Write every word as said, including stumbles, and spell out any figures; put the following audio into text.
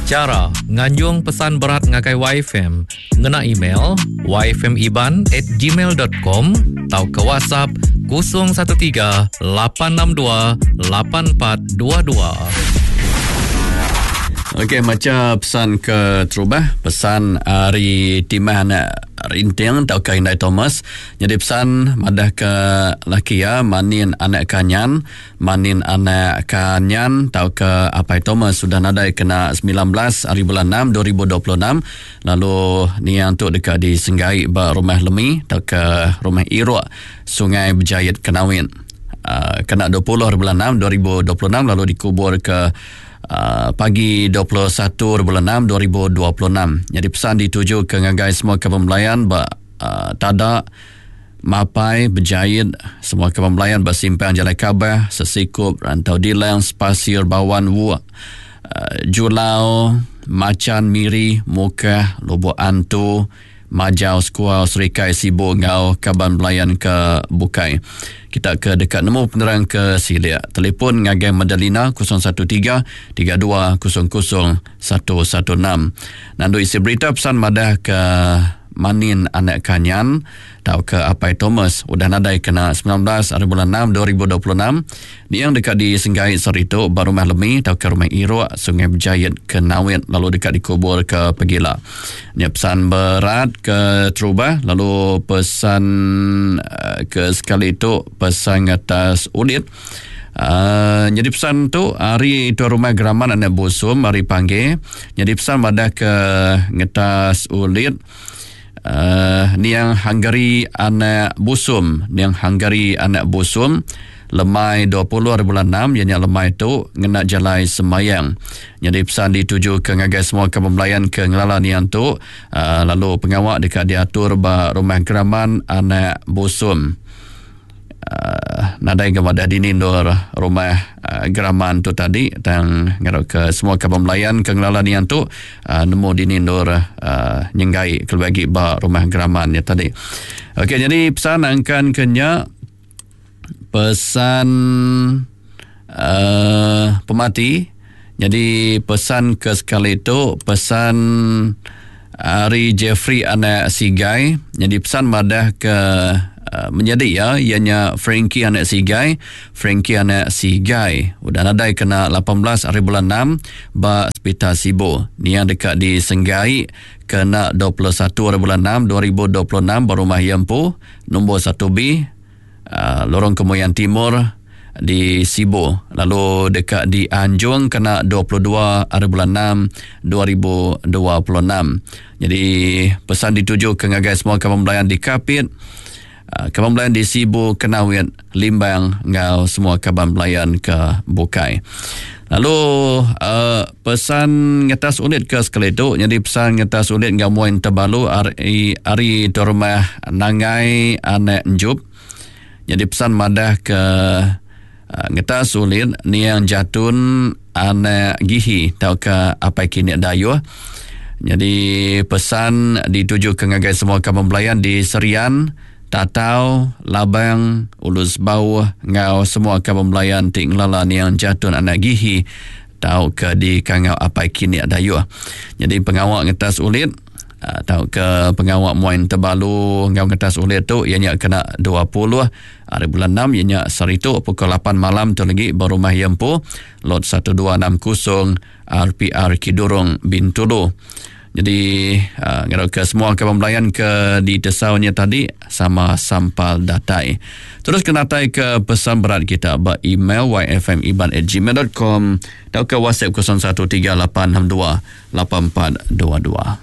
Chara nganjung pesan berat ngagai Y F M ngena email y f m iban at gmail dot com atau ke WhatsApp kosong satu tiga lapan enam dua lapan empat dua dua. Okey, maca pesan ke terubah, pesan ari Timah anak Rinting atau ke Indai Thomas. Jadi pesan madah ke laki ya manin anak kanyan, manin anak kanyan atau ke Apai Thomas sudah nadai kena sembilan belas hari bulan enam dua ribu dua puluh enam. Lalu niang tu dekat di Senggai ba rumah Lemi atau ke rumah Iruk Sungai Berjayit Kenawin. Uh, kena dua puluh hari bulan enam dua ribu dua puluh enam lalu dikubur ke Uh, pagi dua puluh satu bulan enam dua ribu dua puluh enam. Jadi pesan dituju ke ngagai semua kaban belayan ba uh, Tada, Mapai, Berjayit, semua kaban belayan ba Simpang Jalai Kabah, Sesikup, Rantau Dilang, Spasir, Bawan, Wuak, uh, Julau, Macan, Miri, Mukah, Lubuk Antu, Majau, Sekuau, Serikai, Sibu ngau kaban belayan ke Bukai. Kita ke dekat nemu penerang ke Silia. Telefon ngagai Madalina kosong satu tiga tiga dua kosong kosong satu satu enam. Nandu isi berita pesan madah ke Manin anak Kanyan tau ke Apai Thomas udah nadai kena sembilan belas hari bulan enam dua ribu dua puluh enam. Niang dekat di Senggai Sarito ba rumah Lemi tau ke rumah Iruk Sungai Berjayit ke Nawit lalu dekat dikubur ke Pegila. Ni pesan berat ke terubah lalu pesan ke sekali tu pesan atas ulit. Uh, jadi pesan tu hari itu rumah Geraman anak Busum hari panggil. Jadi pesan madah ke ngetas ulit. Uh, niang Hungary anak Busum, niang Hungary anak Busum lemai dua puluh hari bulan enam, ianya lemai tu ngena jalai semayang. Jadi pesan dituju ke ngagai semua kaban belayan ke ngelala niang tu, uh, lalu pengawak dekat diatur ba rumah Geraman anak Busum. Uh, nadai ke madah dini nur rumah uh, Geraman tu tadi tang ngarap ke semua kaban belayan ke ngelala niang tu uh, nemu dini nur uh, nyenggai kelebih lagi ba rumah Geraman ya tadi. Okey, jadi pesan angkan kenya pesan uh, pemati. Jadi pesan ke sekali tu pesan Ari Jeffrey anak Sigai. Jadi pesan madah ke Uh, menjadi ya ianya Frankie anak Sigai, Frankie anak Sigai udah nadai kena lapan belas hari bulan enam ba Hospital Sibu. Nia dekat di Senggai kena dua puluh satu hari bulan enam dua ribu dua puluh enam ba rumah Yempu nombor satu B uh, Lorong Kemuyan Timur di Sibu. Lalu dekat di Anjung kena dua puluh dua hari bulan enam dua ribu dua puluh enam. Jadi pesan dituju ke ngagai semua kaban belayan di Kapit, kaban belayan di Sibu, Kenawit, Limbang ngau semua kaban belayan ke Bukai. Lalu uh, pesan ngetas unit ke sekali tu, jadi pesan ngetas unit ngau muin terbalu ari ari tu rumah Nangai anak Njup. Jadi pesan madah ke uh, ngetas unit niang Jatun anak Gihi tau ke Apai Kinik Dayuh. Jadi pesan dituju ke ngagai semua kaban belayan di Serian, Tatau, Labang, Ulus Bauh, ngau semua kaban belayan ti ngelala niang Jatun anak Gihi tau ke di Kangau Apai Kinik Dayuh. Jadi pengawak ngetas ulit tau ke pengawak muain terbalu ngau ngetas ulit tu ianya kena dua puluh hari bulan enam ianya saritu pukul lapan malam tu lagi berumah Yempu lot satu dua enam kosong R P R Kidurong Bintulu. Jadi uh, ngarap ke semua kaban belayan ke di tesaunya tadi sama sampal datai. Terus kena tai ke pesan berat kita ba email y f m iban at gmail dot com atau ke WhatsApp kosong satu tiga lapan enam dua lapan empat dua dua.